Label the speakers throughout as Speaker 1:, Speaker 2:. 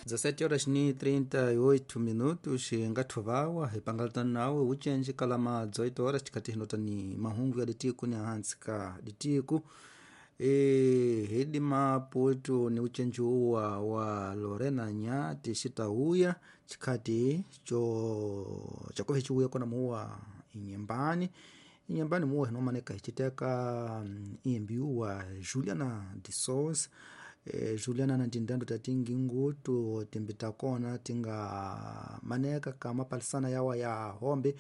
Speaker 1: 17 horas ni 38 minutos ngathuvawa hipangalatana nawe ucenji kalama 18 horas tikati hinota ni mahungu ya ditiku ni ahansi ka ditiku e, hidi maputu ni ucenji uwa wa Lorena Nyati xitauya chikhati cho chakuve chiuya kona muwa inyembani inyembani muwa hinomaneka hichiteka imbi uwa Juliana de Souza. Juliana na tindando tatingi ngutu timbi takona tinga maneka kama palisana yawa ya hombe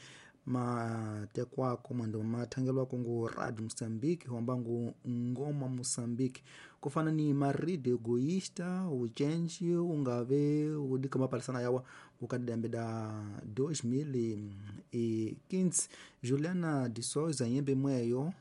Speaker 1: matekwako mwendo mathangelwako ngu radio Moçambique homba ngu ngoma Moçambique kufana ni marido egoísta ucenji ungave udika mapalisana yawa ukadidambe da 2015 Juliana de Souza yembe mweyo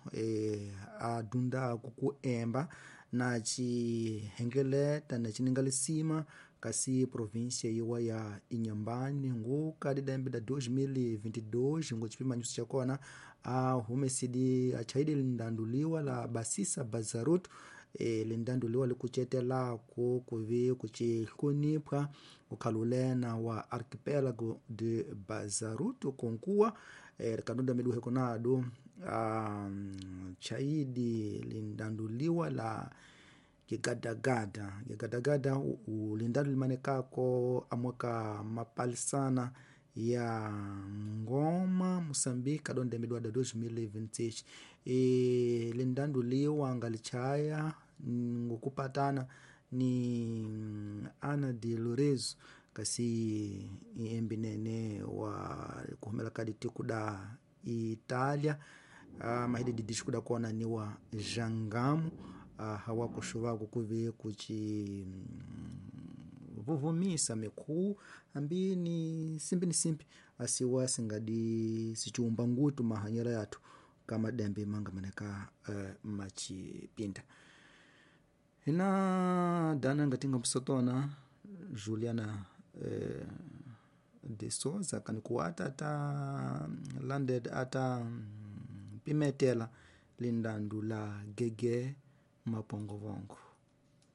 Speaker 1: adunda kukuemba na cihengeleta na cininga kasi província iwa ya Inhambane nguka didembe da 2022 ngo cipimanyiso cakona ahumesidi achaidi lindanduliwa la basisa bazarutu lindanduliwa likucetelako kuvi kucihlonipha ukhalulena wa arquipélago de Bazaruto konkuwa rikadunda miduhe konado chaidi lindanduliwa la gigadagada gigadagada ulindalo limanekako amweka mapalisana ya ngoma Moçambique adonde midwada 2026 lindanduliwa ngalichaya ngokupatana ni Ana de Lorenzo kasi embi nene wa kuhumela kadi tiku da Itália mahidi didisco da kona ni wa Jangamo hawakuxuvako kuve kuci vuvumisa mikhu ambi ni simpi ni simpi asiwa singadi siciumba ngutu mahanyela yathu kama dembe manga maneka macipinda hina dana ngatinga msotona Juliana de Souza kanikuata ata landed ata pimetela lindandu la gege mapongovongo.